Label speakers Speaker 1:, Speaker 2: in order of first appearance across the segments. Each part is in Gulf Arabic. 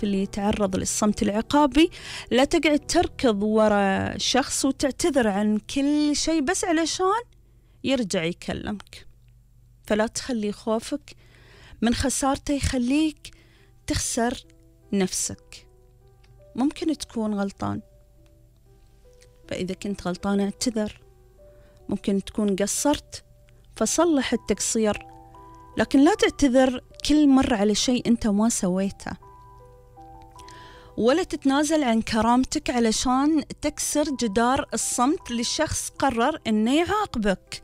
Speaker 1: اللي يتعرض للصمت العقابي لا تقعد تركض ورا شخص وتعتذر عن كل شيء بس علشان يرجع يكلمك. فلا تخلي خوفك من خسارته يخليك تخسر نفسك. ممكن تكون غلطان، فإذا كنت غلطان اعتذر. ممكن تكون قصرت فصلح التقصير، لكن لا تعتذر كل مرة على شيء أنت ما سويته، ولا تتنازل عن كرامتك علشان تكسر جدار الصمت للشخص قرر إنه يعاقبك.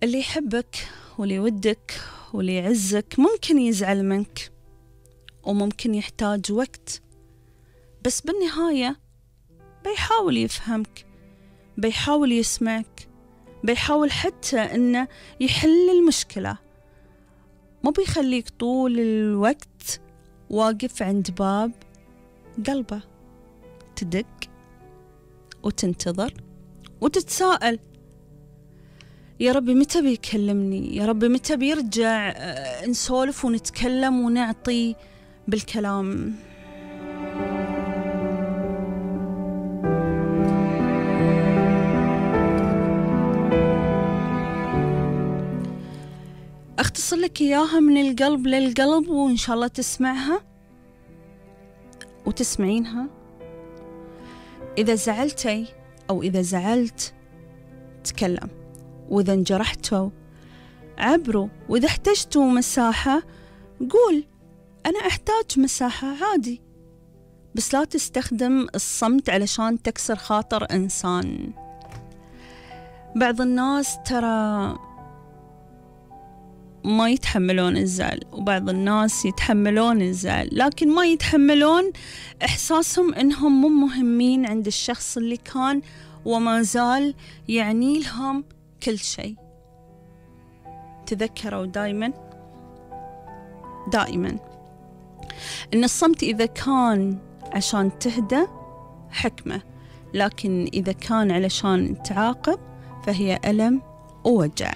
Speaker 1: اللي يحبك واللي يودك واللي يعزك ممكن يزعل منك وممكن يحتاج وقت، بس بالنهاية بيحاول يفهمك، بيحاول يسمعك، بيحاول حتى إنه يحل المشكلة. ما بيخليك طول الوقت واقف عند باب قلبه تدق وتنتظر وتتساءل يا ربي متى بيكلمني، يا ربي متى بيرجع نسولف ونتكلم ونعطي بالكلام. أختصر لك إياها من القلب للقلب، وإن شاء الله تسمعها وتسمعينها. إذا زعلتي أو إذا زعلت تكلم، وإذا انجرحتوا عبروا، وإذا احتجتوا مساحة قول أنا أحتاج مساحة عادي، بس لا تستخدم الصمت علشان تكسر خاطر إنسان. بعض الناس ترى ما يتحملون الزعل، وبعض الناس يتحملون الزعل لكن ما يتحملون إحساسهم إنهم مو مهمين عند الشخص اللي كان وما زال يعني لهم كل شيء. تذكروا دائما إن الصمت إذا كان عشان تهدى حكمة، لكن إذا كان علشان تعاقب فهي ألم ووجع.